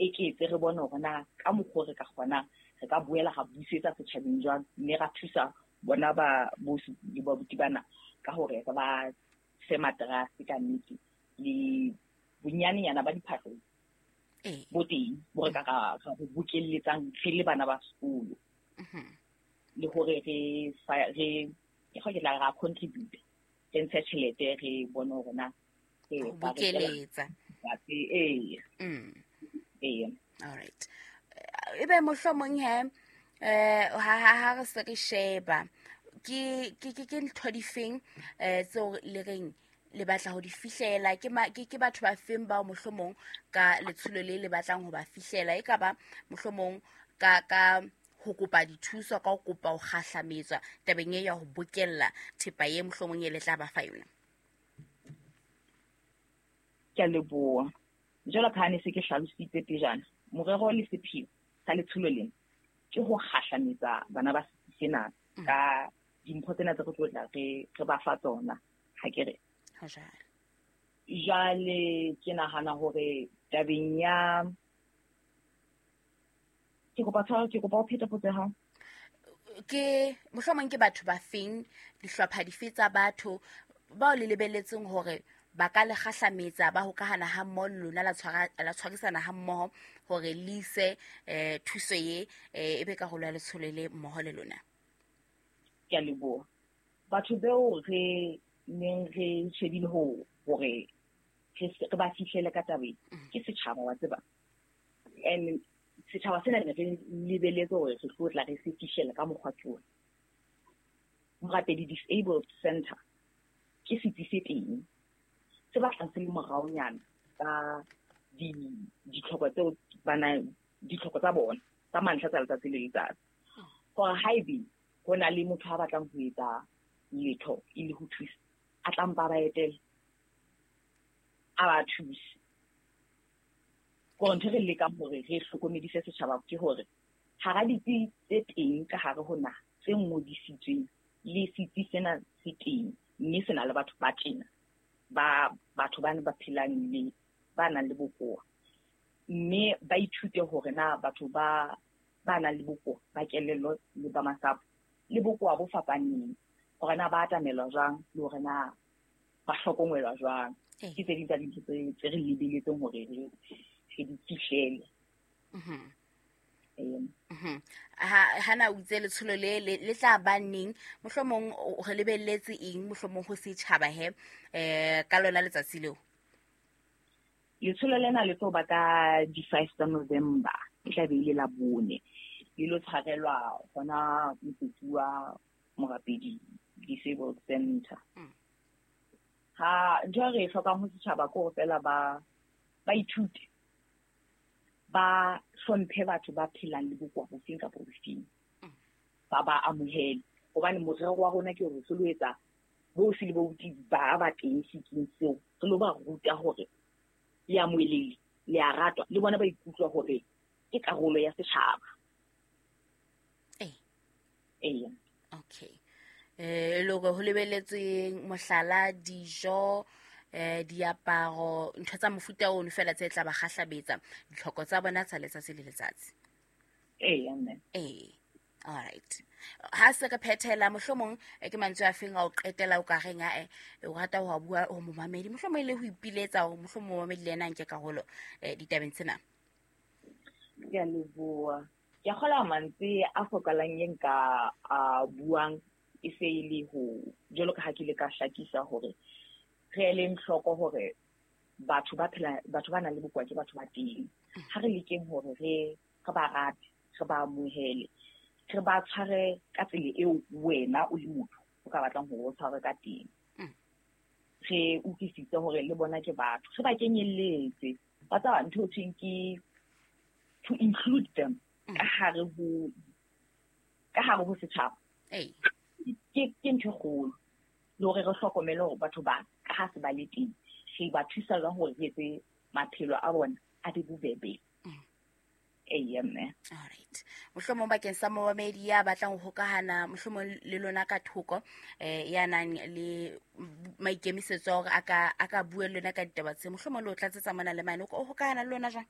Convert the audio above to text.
eketse, re bone hore na ka mokgwa re ka kgonang re ka boela ra busetsa setjhabeng jwang, mme ra thusa bona ba bosi le babuti bana ka hore re ba fe materase ka nnete le bonyanenyana ba diphahlo bo teng bo re ka ra go bokelletsang re le bana ba sekolo, le hore re ke go ke tla ra contribute, re ntshe tjhelete, re bone hore na re bokeletsa. Ee. Ee. All right. Ebe mohlomong he ha re se re sheba ke ntho difeng tseo le reng le batla ho di fihlela, ke batho ba feng bao mohlomong ka letsholo le le batlang ho ba fihlela, e ka ba mohlomong ka ho kopa dithuso, ka ho kopa ho kgahlametswa tabeng e ya ho bokella thepa e mohlomong e le tla ba fa yona? Ke a leboha. Jwalo ka ha ne se ke hlalositse pejana, morero le sepheo sa letsholo lena ke ho kgahlametsa bana ba sena ka dimpho tsena tse re tlo tla re ba fa tsona, ha ke re. Jwale ke nahana hore tabeng ya ke kopa tshwarelo, ke kopa o phete potso ya hao. Ke mohlomong ke batho ba feng, dihlopha dife tsa batho bao le lebelletseng hore ba ka le kgahlametsa, ba hokahana ha mmoho le lona, la tshwarisana ha mmoho hore le ise thuso ye e be karolo ya letsholo le mmoho le lona? Ke a leboha. Batho beo re neng re shebile hore re ba fihlele ka tabeng ke setjhaba, wa tseba. And setjhaba sena ne re lebeletse hore re tlo tla re se fihlele ka mokgwa ke ona. Morapedi Disabled Center ke setsi se teng se batlang se le moraonyana ka ditlhoko tseo bana, ditlhoko tsa bona tsa mantlha tsa letsatsi le letsatsi. Hore haebe ho na le motho a batlang ho etsa letho e le ho thusa, a tla mpa ba etele, a ba thuse. Hore ntho re lekang hore re hlokomedise setjhaba ke hore hara ditsi tse teng ka hare ho naha tse ngodisitsweng, le setsi sena se teng, mme se na le batho ba tjena, ba batho bana ba phelang le ba nang le bokowa, mme ba ithute hore na batho ba nang le bokowa ba kelello le ba masapo le bokowa bo fapaneng, hore na ba atamelwa jwang le hore na ba hlokomelwa jwang. Ke tse ding tsa dintho tse re lebeletseng hore re di fihlele. Ha na o itse letsholo le tla ba neng, mohlomong re lebelletse eng mohlomong ho setjhaba he ka lona letsatsi leo? Letsholo lena le tlo ba ka di-5 tsa November, e tla be e le la bone. Le lo tshwarelwa hona motsotso wa Morapedi Disabled Center. Ha ntho e re e hlokang ho setjhaba ke hore fela ba ithute, ba hlomphe batho ba phelang le bokowa bofeng kapa bofeng, ba amohele. Hobane morero wa rona ke hore re lo etsa bo se le bo ba ba teng setsing seo, re lo ba ruta hore le amohelehile, le a ratwa, le bona ba ikutlwa hore ke karolo ya setjhaba. Ee. Okay. Le hore ho lebelletsweng mohlala dijo, diaparo, ntho tsa mofuta ono fela tse tla ba kgahlabetsa ditlhoko tsa bona tsa letsatsi le letsatsi. Ee, mme. Ee. All right. Ha se re phethela mohlomong ke mantswe a feng a o qetela o ka reng a o rata ho bua ho momamedi, mohlomong le ho ipiletsa hore mohlomong momamedi le yena a nke karolo ditabeng tsena? Ke a leboha. Ke kgola mantswe a fokolang e nka a buang e se e le ho jwalo ka ha ke ile ka hlakisa hore re eleng hloko hore batho ba phela, batho ba nang le bokowa ke batho ba teng. Ha re lekeng hore re ba rate, re ba amohele, re ba tshware ka tsela eo wena o le motho o ka batlang hore o tshwarwe ka teng. Re utlwisise hore le bona ke batho, re ba kenyelletse. Ba tseba ntho e thweng ke to include them ka hare ho setjhaba. Ke ntho e kgolo. Le hore re hlokomele hore batho ba ka ha se ba le teng, re ba thusa jwang hore re etse maphelo a bona a be bobebe. Ee, mme. All right. Mohlomong bakeng sa momamedi ya batlang ho hokahana mohlomong le lona ka thoko, ya nang le maikemisetso a hore a ka bua le lona ka ditaba tse, mohlomong le o tlatsetsa mona le mane, o hokahana le lona jwang?